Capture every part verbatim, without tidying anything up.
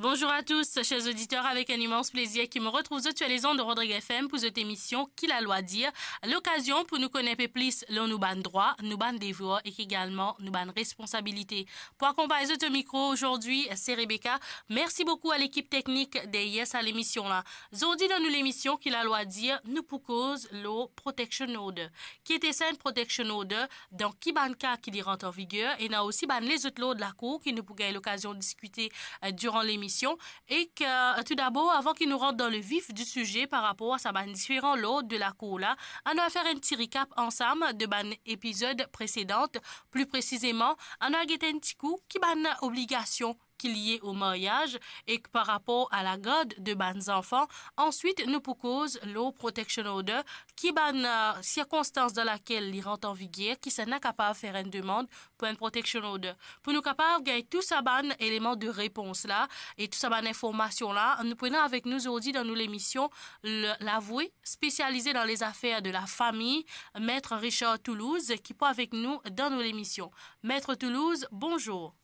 Bonjour à tous, chers auditeurs, avec un immense plaisir ki mo retrouv zot sur les ondes de Rodrigue F M pour zot émission Ki Lalwa Dir, lokazion pou nou konn enpe plis lor nou bann drwa, nou bann devwar ek egalman nou bann responsabilite. Pou akonpagn zot o mikro ozordi, se Rebecca. Merci beaucoup à l'équipe technique derrière sa lemision la. Zordi dan nou lemision Ki Lalwa Dir, nou pou koz lor protection order. Ki ete sa enn protection order? Dan ki bann ka ki li rant an viger? Ena osi bann lezot lord lakour ki nou pou gagn lokazion diskite, eh, diran lemision. Ek, eh, tou dabor, avan ki nou rant dan le vif di size par rapor a sa bann diferan lord de lakour la, anou al fer enn ti recap ansam de bann epizod presedan. Pli presizeman, anou al gete enn ti kou ki bann obligasion ki lie o maryaz ek par rapor a lagard de bann zanfan. Answit, nou pou koz lor protection order, ki bann, eh, sirkonstans dan lakel li rant an viger, kisannla kapav fer enn demann pou enn protection order. Pou nou kapav gagn tou sa bann eleman de repons la e tou sa bann informasion la, nou pou ena avek nou zordi dan nou lemision le, lavoue spesialize dan lezafer de lafami, Maître Richard Toulouse, ki pou avek nou dan nou lemision. Maître Toulouse, bonjour.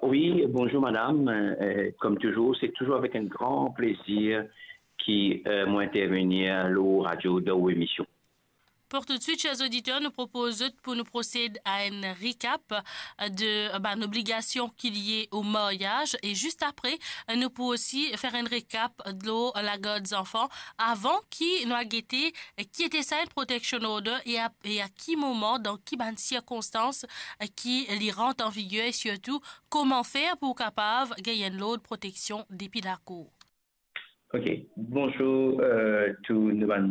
Oui, bonjour madame. Euh, comme toujours, c'est toujours avec un grand plaisir ki, euh, mo intervenir lor radio dan ou émission. Pour tout de suite, chers auditeurs, nou propoz zot pou nou prosed a enn recap, euh, de, euh, bann obligasion ki lie o maryaz. E zis apre, euh, nou pou osi fer enn recap lor lagard zanfan. Avan ki nou al gete, euh, ki ete sa enn protection order e a, e a ki moman, dan ki bann sirkonstans, euh, ki li rant an viger e sirtou koman fer pou kapav gagn enn lord proteksion depi lakour. Ok, bonjour, euh, tou nou bann,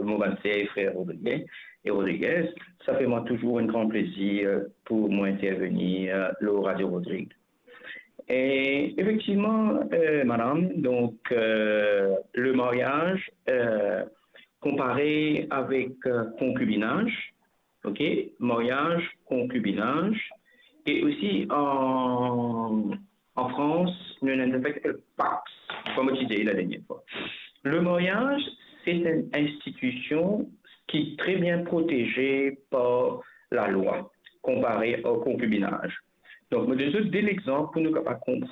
mo bann ser e frer Rodriguez e Rodriguez. Sa fer mwa touzour enn gran plezir pou mo intervenir, euh, lor Radio Rodrigue. E efektivman, euh, madame, donk, euh, le maryaz, euh, konpare avek, euh, konkibinaz, ok, maryaz, konkibinaz, e osi an, an Frans, nou ena enn zafar ki apel Pacs, kouma mo ti dir la dernie fwa. Le maryaz, se enn institision ki tre bien proteze par lalwa, konpare o konkibinaz. Donk, mo donn zot de lexanp pou nou kapav konpran